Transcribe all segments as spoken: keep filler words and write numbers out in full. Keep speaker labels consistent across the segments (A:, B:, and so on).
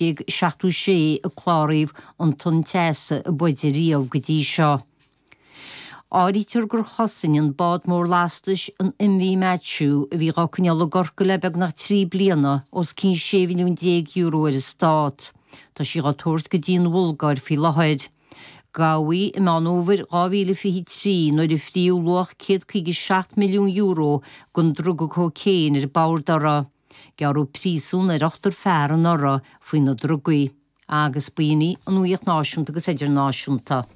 A: déag seachtó sé a cláraíodh an tonn teasa ab fhaide riamh go dtí seo. Áirítear gur chosain an bád mór lastais an MV Matthew a bhí á choinneáil i gCorcaigh le beagnach trí bliana os cionn sé mhilliún déag euro ar an stát. Tá sí á tabhairt go dtí an Bhulgáir faoi láthair. Gabhadh í i Meán Fómhair dhá mhíle fiche trí nuair a fríodh luach céad caoga seacht milliún euro den druga cócaon ar bord uirthi. Gearradh príosún ar ochtar fear anuraidh faoi na drugaí. Agus b'in í an nuacht náisiúnta agus idirnáisiúnta.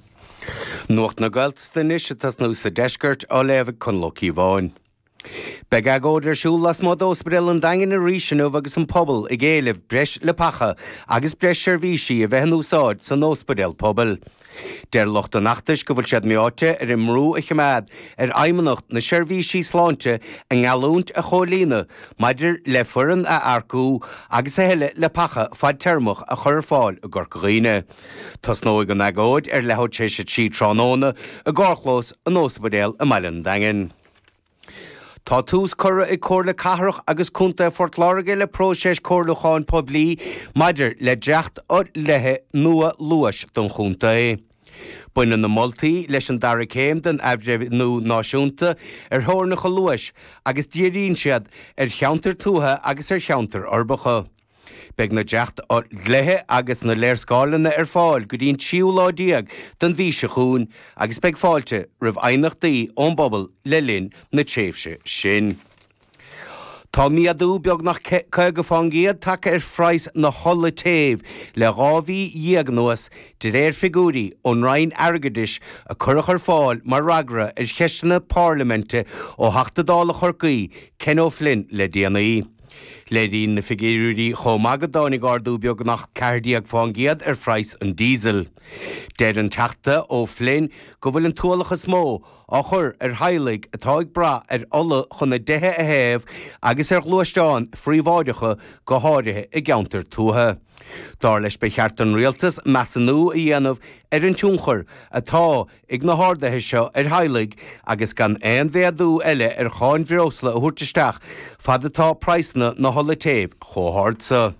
B: Nuacht na Gaeltachta anois ag tosnú sa deisceart á léamh ag Conall Ó Cíobháin. Beidh agóid ar siúl lasmuigh d'Ospidéal an Daingin arís inniu agus an pobal ag éileamh breis leapacha agus breis seirbhísí a bheith in úsáid san ospidéal pobail. Deir lucht an fheachtais go bhfuil siad meáite ar an mbrú a choimeád ar Fheidhmeannacht na Seirbhísí Sláinte a ngeallúint a chomhlíonadh maidir le foireann a earcú agus a thuilleadh leapacha fadtéarmach a chur ar fáil i gCorca Dhuibhne. Tosnóidh an agóid ar leathuair tar éis a trí tráthnóna i gcarrchlós an ospidéil i mbaile an Daingin. Tá tús curtha ag Comhairle Cathrach agus Contae Phort Láirge le próiseas comhairliúcháin poiblí maidir le dréacht-dlíthe nua luais don chontae. Baineann na moltaí leis an dara céim den athbhreithniú náisiúnta ar theorainneacha luais agus díríonn siad ar cheantair tuaithe agus ar cheantair uirbeacha. Beidh na dréacht-dlíthe agus na léarscáileanna ar fáil go dtí an tríú lá déag den mhí seo chugainn agus beidh fáilte roimh aighneachtaí ón bpobal le linn na tréimhse sin. Tá méadú beagnach caoga fán gcéad tagtha ar phraghas na hola téimh le dhá mhí dhéag anuas, de réir figiúirí ón Roinn Airgeadais a cuireadh ar fáil mar fhreagra ar cheisteanna parlaiminte ó Theachta Dála Chorcaí, Ken O'Flynn le déanaí. Léiríonn na figiúirí chomh maith go dtáinig ardú beagnach ceathair déag fán gcéad ar phraghas an díosail. Deir an Teachta O'Flynn go bhfuil an t-ualach is mó á chur ar theaghlaigh atá ag brath ar ola chun a dtithe a théamh agus ar ghluaisteáin phríobháideacha, go háirithe i gceantair tuaithe. Dar leis ba cheart don rialtas measúnú a dhéanamh ar an tionchar atá ag na harduithe seo ar theaghlaigh agus gan aon mhéadú eile ar cháin bhreosla a thabhairt isteach fad atá praghsanna na hola téimh chomh hard seo.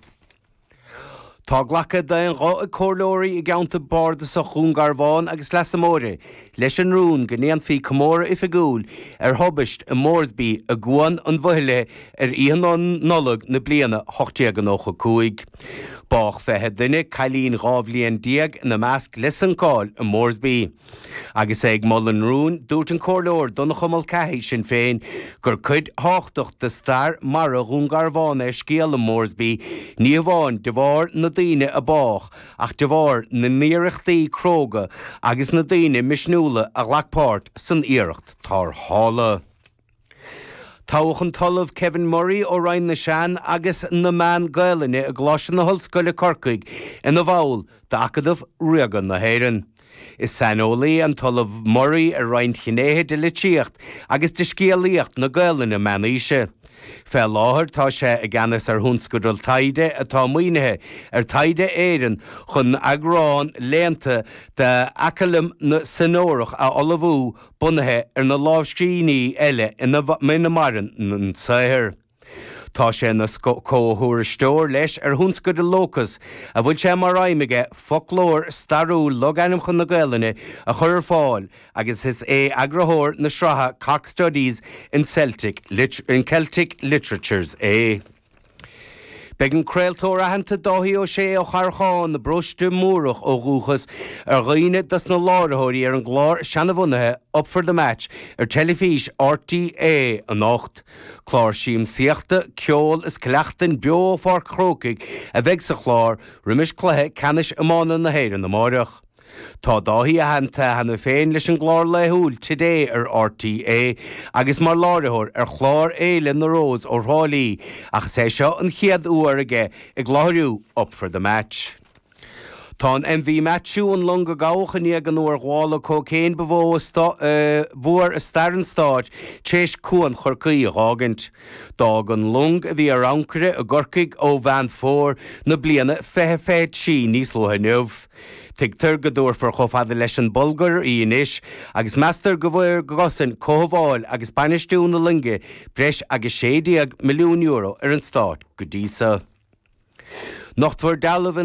B: Tá glactha d'aon ghuth ag comhairleoirí i gceantar bardasach Dhún Garbhán agus Leasa Móire leis an rún go ndéanfaí comóradh oifigiúil ar thubaist i Moresby i gCuan an Bhuithle ar Oíche Nollag na bliana ocht déag nócha cúig. Bádh fiche duine, cailín dhá bhliain déag ina measc, le suncáil i Moresby. Agus é ag moladh an rúin, dúirt an Comhairleoir Donncha Mulcahy, Sinn Féin, gur cuid thábhachtach de stair mara Dhún Garbhán é scéal an Moresby, ní hamháin de bharr na daoine a bádh ach de bharr na n-iarrachtaí cróga agus na daoine misniúla a ghlac páirt san iarracht tarrthála. Toghadh an tOllamh Kevin Murray ó Roinn na Sean agus na Meán Gaelainne i gColáiste na hOllscoile Corcaigh ina bhall d'Acadamh Ríoga na hÉireann. Is saineolaí an tOllamh Murray ar roinnt ghnéithe de litríocht agus de scéalaíocht na Gaelainne meánaoise. Fé láthair tá sé i gceannas ar thionscadal taighde atá maoinithe ar Taighde Éireann chun eagrán léannta de Acallam na Senórach a ullmhú bunaithe ar na lámhscríbhinní eile ina maireann an saothar. Tá sé ina chomhthuairisceoir leis ar thionscadal Locus a bhfuil sé mar aidhm aige foclóir stairiúil logainmneacha na Gaelainne a chur ar fáil agus is é eagarthóir na sraithe Cork Studies in Celtic in Celtic Literatures é. Beidh an craoltóir aitheanta Dáithí Ó Sé ó Charrachán i bParóiste Múrach ó dhúchas ar dhuine dos na láithreoirí ar an gclár seanbhunaithe Up for the Match ar teilifís RTÉ anocht. Clár siamsaíochta, ceoil is cleachtain beo ó Pháirc an Chrócaigh a bheidh sa chlár roimis cluiche ceannais iomána na hÉireann amáireach. Tá Dáithí aitheanta cheana féin leis an gclár laethúil Today ar RTÉ agus mar láithreoir ar chlár Fhéile na Rós ó Thrá Lí ach is é seo an chéad uair aige ag láithriú Up for the Match. Tá an MV Matthew, an long a gabhadh i ndiaidh an urghabhála cócaoin ba mhó a fuair i stair an stáit, tar éis Cuan Chorcaí a dh'fhágaint. D'fhág an long, a bhí ar ancaire i gCorcaigh ó Mheán Fómhair na bliana fiche fiche trí níos luaithe inniu. Tuigtear go dtabharfar chomh fada leis an Bhulgáir í anois agus meastar go gcosain cothabháil agus bainistiú na loinge breis agus sé déag milliún euro ar an stát go dtí so. Nochtfar dealbh